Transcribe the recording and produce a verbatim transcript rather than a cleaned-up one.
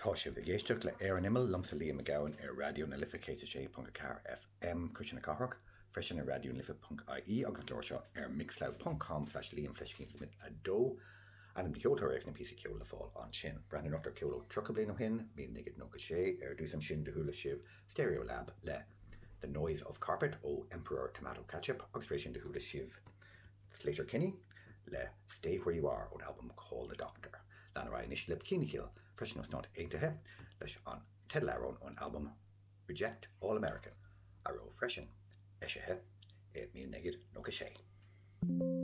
Tá sibh ag éisteacht le Ar an Imeall liomsa Liam Mac Gabhann ar Raidió na Life céad sé ponc a ceathair FM Cuisle na Cathrach, freisin ar Raidió na Life.ie agus an clár seo ar mixcloud.com slash Liam Fleiscín Smith a dó. Ainm na ceoltóir agus na píosa ceoil le fáil ansin. Breathnú anocht ar ceol ó tríocha bliain ó shin, míle naoi gcéad nócha sé ar dtús ansin do chuala sibh Stereolab le The Noise of Carpet ó Emperor Tomato Ketchup agus freisin do chuala sibh Sleater-Kinney le Stay Where You Are ón album Call the Doctor. Lean ar anois le Bikini Kill freisin ó Stáit Aontaithe leis an teideal ón album Reject All American a raibh freisin eisithe i míle naoi gcéad nócha sé.